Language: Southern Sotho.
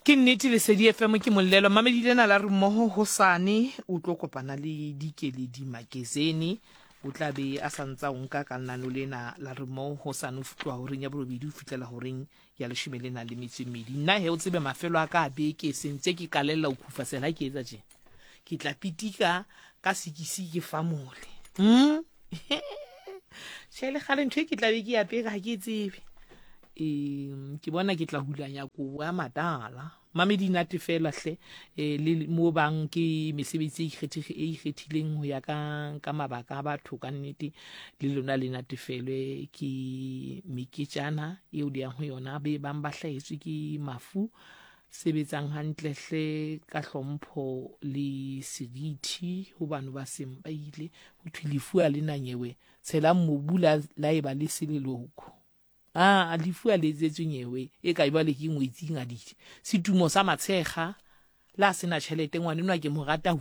Ke nnete Lesedi FM ke mollelo. Mamedi lena la re mmoho hosane o tlo kopana le Dikeledi Makezene. O tla be a sa ntsa o nka ka lenano lena la re mmoho hosane o tloha horeng ya borobedi ho fihlela horeng ya leshome le nang le metso e mmedi. Nna he o tsebe mafelo a ka a beke sentse ke qalella ho khufasela ha ke etsa tjena. Ke tla pitika ka sekisi ke famole. Mm? Tjhe le kgale ntho e ke tla be ke apere ha ke e tsebe. Um ke bona ke tla hulanya kobo ya matala. Mamedi nate fela hle eh, le mo bang ke mesebetsi e ikgethege e ikgethileng ho ya ka ka mabaka a batho ka nnete le lona le natefelwe ke meketjana eo le yang ho yona be bang ba hlahetswe ke mafu sebetsang hantle hle ka hlompho le seriti ho bano ba seng ba ile ho thwe lefu a le na nyewe tshelang mobu la la eba le seleloko a lefu a le etsetswe nyewe e ka jwale ke ngwetsi ngadile setumo sa matshekga la sena tjhelete ngwanenwa ke mo rata ho